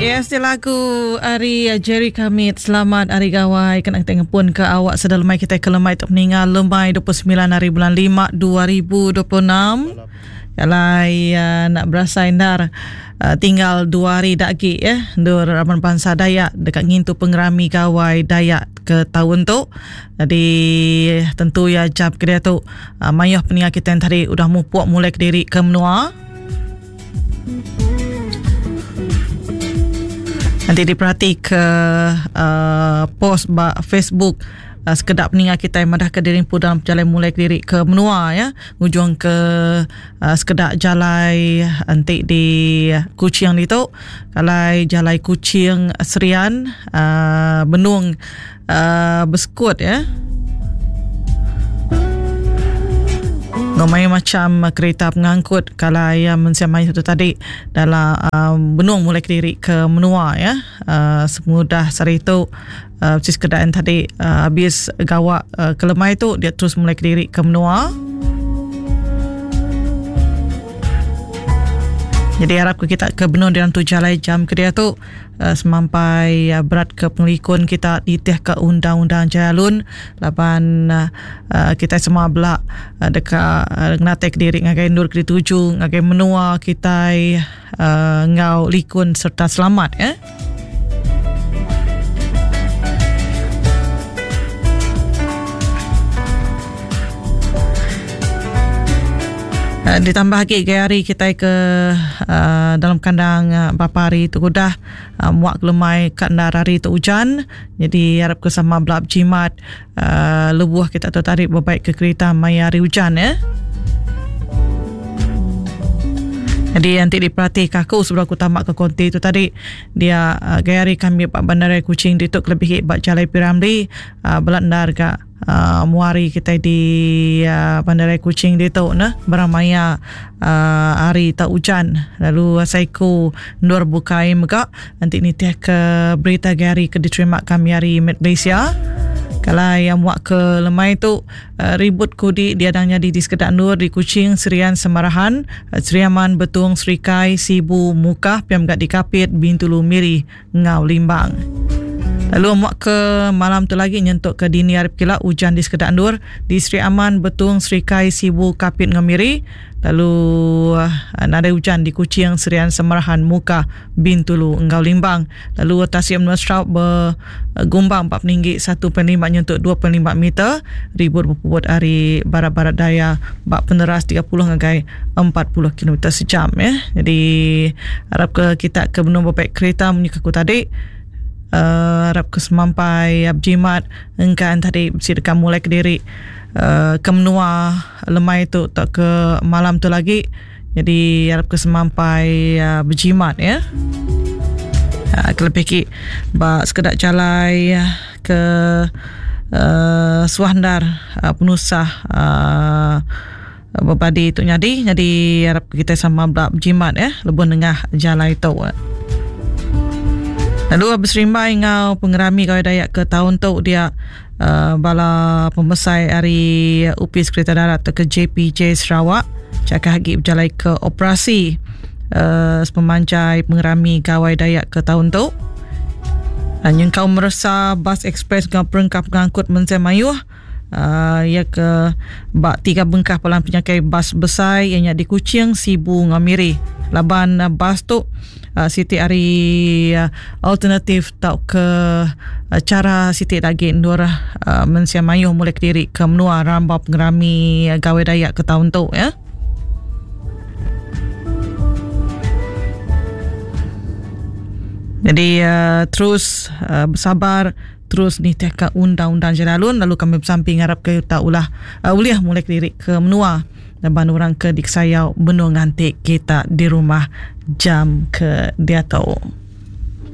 Yes, dia lagu ari Jerry Kamit. Selamat Hari Gawai. Kena kita ngepun ke awak sedar lemai kita ke lemai tu meninggal lemai 29 hari bulan 5 2026. Kalai uh, nak berasai ndar uh, tinggal dua hari dak agi ya. Ndur raban bangsa Dayak dekat ngintu pengerami Gawai Dayak ke tahun tu. Jadi tentu ya jam ke dia tu uh, mayuh peninga kita yang tadi udah mupuk mulai ke diri ke menua. Nanti diperhati ke uh, post ba Facebook uh, sekedap peninga kita yang madah ke diri pun dalam perjalanan mulai ke diri ke menua ya ngujung ke uh, sekedak jalai nanti di Kuching ditu kalai jalai Kuching Serian uh, benung uh, besekut ya. Ngomai macam kereta pengangkut kalau ya mensia mai tu tadi dalam uh, benung mulai kediri ke menua ya. Uh, semudah sehari tu uh, sis kedaan tadi uh, habis gawak uh, kelemai tu dia terus mulai kediri ke menua. Jadi harap ke kita ke benung dalam tu jalai jam ke dia tu Semampai berat ke pengelikun kita nitih ke undang-undang jalai alun laban kitai semua bela deka ngenatai kediri ngagai endur ke dituju ngagai menua kitai enggau likun sereta selamat eh. Eh, ditambah agi gaya hari kitai ke uh, dalam kandang uh, berapa hari tu udah uh, muak kelemai ka endar hari tu ujan jadi harap ke sama bela bejimat uh, lebuh kita tu tadi bebaik ke kereta maya hari ujan ya. Jadi nanti diperhati ke aku sebelum aku tamak ke konti tu tadi dia uh, gaya hari kami ba bandaraya Kuching ditu kelebih ba Jalai Piramli uh, bela endar ga uh, muari kitai di uh, Bandaraya Kuching ditu neh barang maya uh, hari tau ujan lalu seiku endur bukai mega enti nitih ke berita agi hari ke diterima kami ari Met Malaysia kalai yang muak ke lemai tu uh, ribut kudi diadang nyadi di sekeda endur di Kuching, Serian, Semarahan, uh, Sri Aman, Betong, Serikai, Sibu, Mukah, pia mega di Kapit, Bintulu, Miri enggau Limbang. Lalu muak ke malam tu lagi nyentuk ke dini hari pekila ujan di sekeda endur di Sri Aman, Betong, Serikai, Sibu, Kapit enggau Miri. Lalu eh, nadai ujan di Kuching, Serian, Semerahan, Mukah, Bintulu enggau Limbang. Lalu tasik menua Sarawak begumbang ba peninggi 1.5 nyentuk 2.5 meter. Ribut bepuput ari barat-barat daya ba peneras 30 ngagai 40 kilometer sejam ya. Jadi harap ke kita ke benung bebaik kereta munyi ke aku tadi uh, harap ke semampai berjimat engkan tadi bisi deka mulai kediri uh, ke menua lemai tu atau ke malam tu lagi. Jadi harap ke semampai uh, berjimat ya. Uh, kelebih ki ba sekeda jalai ke uh, suah endar uh, penusah uh, Bebadi tu nyadi nyadi arap kitai sama bela bejimat eh lebuh nengah jalai tu. Lalu beserimbai enggau pengerami Gawai Dayak ke taun tu dia uh, bala pemesai ari Opis Kereta Darat ke JPJ Sarawak chakah agi bejalai ke operasi uh, sepemanjai pengerami Gawai Dayak ke taun tu. Uh, nyengkaum meresa bas ekspres enggau perengka pengangkut mensia mayuh Iya ke ba tiga bengkah palan penyangkai bas besai iya nya di Kuching, Sibu enggau Miri. Laban bas tu siti ari alternatif tauka chara siti da agi endur mensia mayuh muli kediri ke menua rambau pengerami Gawai Dayak ke taun tu ya. Jadi terus besabar terus nitihka undang-undang jalai alun lalu kami besampi ngarapka uta ulah uh, ulih mulai kediri ke menua laban orang ke dikesayau benung nganti kita di rumah jam ke diatu.